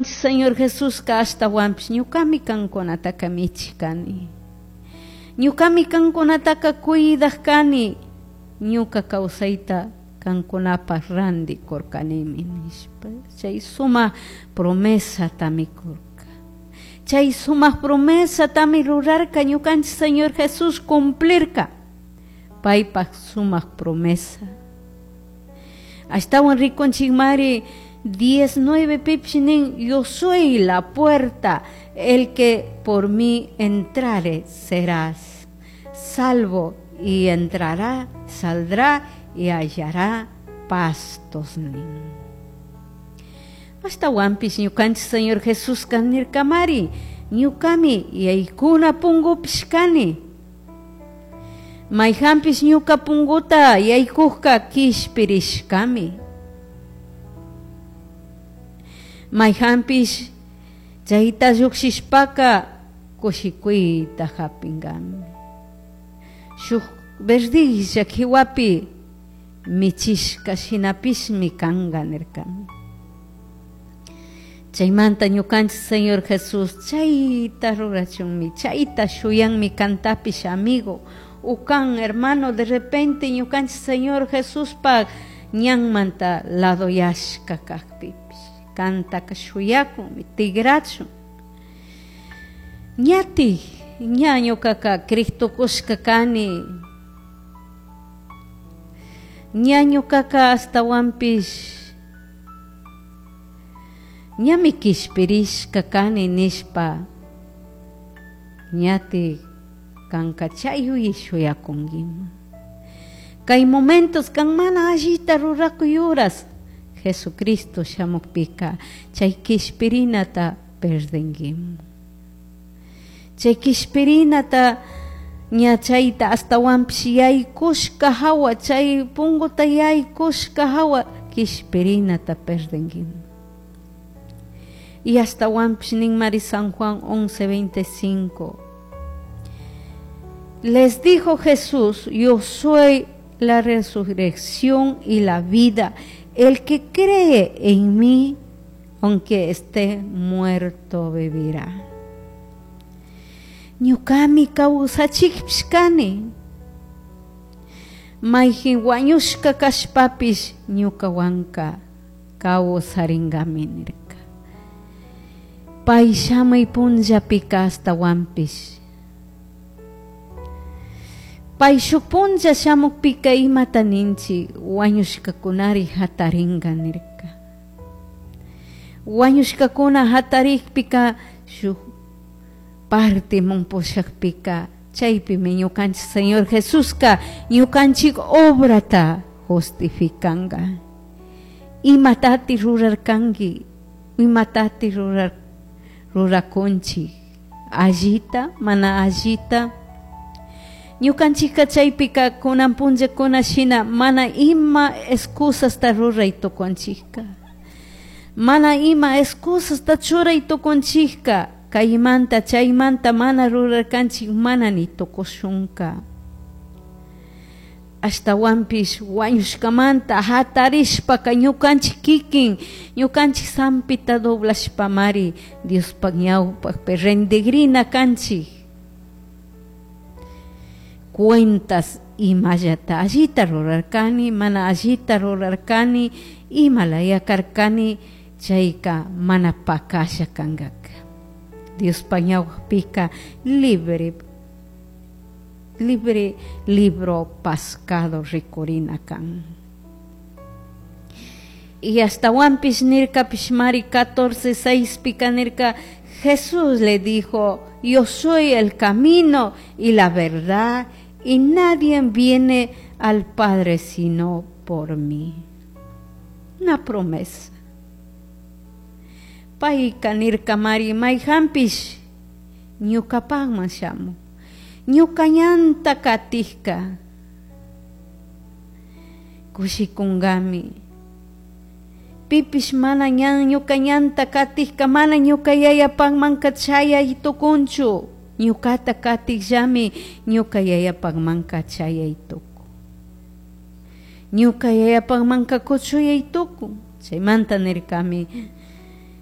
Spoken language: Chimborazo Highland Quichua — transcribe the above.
Señor Jesusca ashtahuanpish ñucami cancunataca michij cani. Ñucami cancunataca cuidaj cani. Ñuca causaita cancunapaj randi curcanimi nishpa. Chay sumaj promesatami curca. Chay sumaj promesatami rurarca ñucanchik Señor Jesús cumplirca. Paipaj sumaj promesa. Ashtawan rikunchikmari 19 pipish nin, yo soy la puerta, el que por mí entrare serás salvo y entrará, saldrá y hallará pastos nin. Ashtahuanpish ñukanchik Señor Jesusca nirkamari, ñukami yaykuna pungupish kani. Mayhanpish ñuka punguta yaykujka kishpirishkami. Mayhanpish chayta llukshishpaka kushikuyta hapingami. Shuk verdilla kiwapi michishka shinapishmi kanka nirkami. Chaymanta ñukanchik Señor Jesús chayta rurachunmi, chayta shuyanmi kantapish amigo. Ukan hermano, de repente ñukanchik Señor Jesuspaj ñanmanta ladoyashka kakpipish kantaka shuyakunmi, tigrachun. Ñati, ña ñukaka Cristo kushka kani. Ña ñukaka ashtawanpish ñami kishpirishka kani nishpa ñati kanka chay yuyay shuyakunkiman. Kay momentos kan mana allita rurakuyuras Jesucristo shamukpika chay kishpirinata perdinkiman. Chay kishpirinata ña chayta ashtawanpish yaykushka hawa chay punguta yaykushka hawa kishpirinata perdinkiman. Y ashtawanpish ninmari San Juan 11:25. Les dijo Jesús, yo soy la resurrección y la vida. El que cree en mí, aunque esté muerto, vivirá. Ñukami kawsachikpish kani. Mayjin wañushka kashpapish ñukawanka kawsarinkami nirka. Pay shamuy punllapika ashtawanpish. Pay shuk punlla shamukpika imata ninchik wañushkakunari hatarinka nirka. Wañushkakuna hatarikpika shuk parte pushakpika chaypimi ñukanchik Señor Jesuska ñukanchik obrata justificanka. Imatati rurarkanki, imatati rurakunchik, allita, mana allita. Ñukanchikka chaypika kunan punllakuna shina mana ima excusasta ruray tukunchikka. Mana ima excusasta churay tukunchikka. Kaymanta chaymanta mana rurarkanchik mana ni tukushunka. Ashtawanpish wañushkamanta hatarishpaka ñukanchik kikin ñukanchik sampita doblashpamari Diospaj ñawpakpi rendigrina kanchik. Cuentas imallata allita rurarkani, mana allita rurarkani, imalaya karkani, chayka mana pakasha kankaka. Diospaj ñawpakpika libre, libre libro pascado rikurina kan. Y ashtawanpish nirkapish mari 14:6 pika nirka, Jesús le dijo, yo soy el camino y la verdad, y nadie viene al Padre sino por mí. Una promesa. Payka nirka mari mayhanpish ñukapakman shamun. Ñuka ñanta katikka kushikunkami. Pipish mana ñan ñuka ñanta katikka mana ñuka yayapakmanka chayay tukunchu. Ñukata katikllami ñuka yayapakmanka chayay tukun. Ñuka yayapakmanka kuchuyay tukun. Chaymanta nirkami